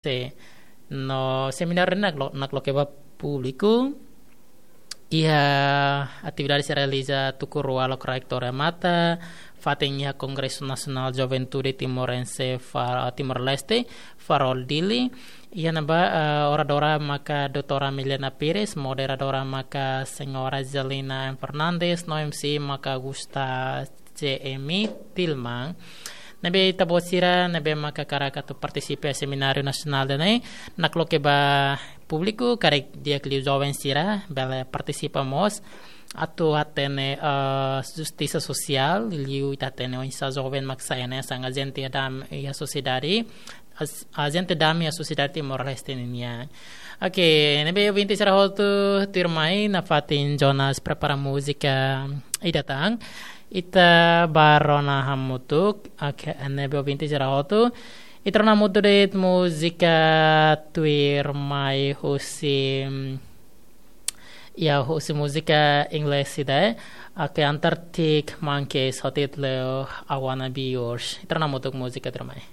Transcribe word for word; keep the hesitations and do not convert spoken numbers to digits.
se no semináriu ne'e naklo-, nakloke ba públiku. Iha atividade sira realiza tuku rua loke Rektór Remata, fatin iha Kongresu Nasionál Juventude Timorense Fa-, Timor-Leste, Farol Dili. Iha ne'ebá, eh, oradora maka doutora Milena Pires, moderadora maka señora Zelina M Fernandes, no M C maka Gusta C M Tilman. Ne'ebé ita-boot sira ne'ebé maka hakarak atu partisipa semináriu nasionál ida-ne'e, nakloke ba públiku, karik di'ak liu joven sira bele partisipa mós atu hatene, eh, justisa sosiál, liu ita hatene oinsá joven mak sai hanesan ajente dam iha sosiedade, as-, ajente dam iha sosiedade Timor-Leste nian. Oke, ne'ebé ouvinte sira hotu, tuirmai nafatin Jonas prepara múzika ida tan. Ita bá rona hamutuk. Oke, ne'ebé ouvinte sira hotu, ita rona hamutuk de'it múzika tuirmai husi, ya, husi múzika Inglés ida, eh. Oke, Antarctic Monkeys ho títulu I Wanna Be Yours. Ita rona hamutuk múzika tuirmai.